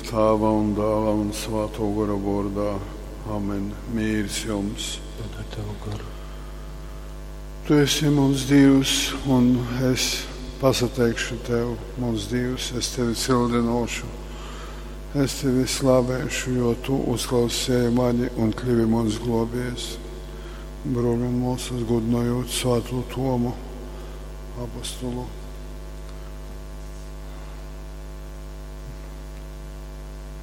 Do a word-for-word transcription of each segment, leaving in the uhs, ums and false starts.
Tāva un Dāla un Svātō Gora vōrdā. Amen. Mīrs jums. Un ar tavu garu. Tu esi muns Dīvs, un es pasateikšu Tev, muns Dīvs, es Tevi cildinōšu. Es Tevi slavēšu, jo Tu uzklausēji mani un kļuvi muns glōbējs. Brōļi un mōsas, gudinojot Svātū Tomu, apostolu.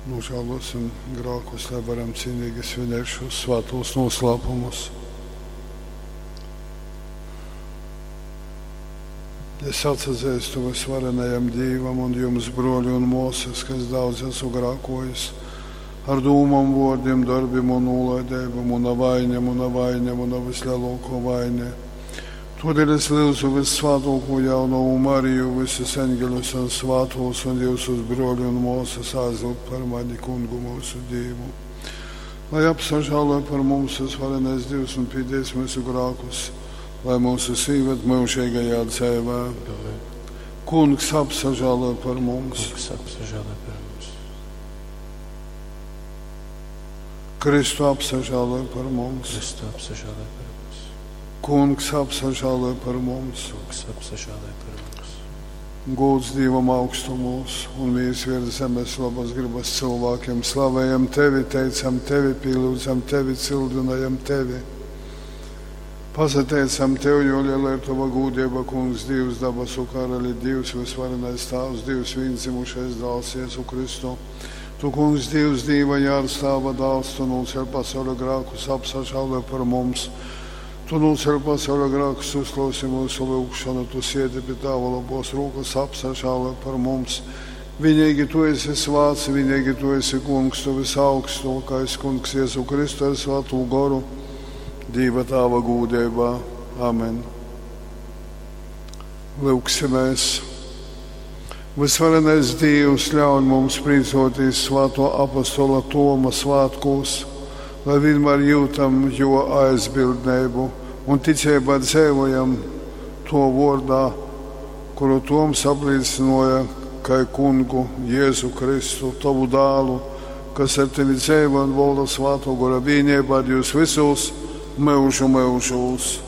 Nožēlosim grēkus, lai varam cienīgi svinēt šos svētos noslēpumus. Es atsazīstu visvarenajam Dievam un jums, broļi un māsas, kas daudz esmu grēkojis, ar dūmām, vārdiem, darbiem un nolaidību, mana vaina, mana vaina, mana vislielākā vaina. Todēļ es lūdzu vissvētāko jaunavu Mariju, visus eņģeļus un svētos un jūsus broļi un māsas aizlūgt par mani kungu mūsu Dievu. Lai apsažālo par mums visvarenais Dievs un piedies mūsu grēkus, lai mūsu īved mūžīgajā dzīvē. Amen. Kungs apsažālo par mums. Kungs apsažālo par mums. Kristu apsažālo par mums. Kristu apsažālo par mums. Kungs apsažālo par mums. Kungs apsažālo par mums. Gods Dievam augstumos un mīrs virs zemes labas gribas cilvēkiem. Slavējam Tevi, teicam Tevi, pielūdzam Tevi, cildinājam Tevi. Pasateicam Tev, jo liela ir Tava gūdība, Kungs, Dievs, dabasu karali, Dievs, visvarenais Tēvs, Dievs, viendzimušais dēls, Jēzu Kristu. Tu, Kungs, Dievs, Dieva jārs, Tava dēls, Tu nocēl pasaules grēkus, apsažālo par mums. Tu nocēl pasaules grēkus, uzklausi mūsu lūgšanu, Tu siedi pie Tava labos rokas, apsažālo par mums. Vienīgi Tu esi svāts, vienīgi Tu esi Kungs, Tu visaugstākais Kungs Jēzu Kristu ar Svēto Goru, Dieva Tava gūdībā. Amen. Lūgsimies. Visvarenais Dievs ļauj mums priecāties Svēto apostola Toma svētkos, lai vienmēr jūtam jo aizbildnību un ticībā dzīvojam to vārdā, kuru Toms apliecināja, kai kungu Jēzu Kristu, tavu dēlu, kas ar tevi dzīvo un valda Svēto Gora vienībā ar jūs visus mūžu mūžos.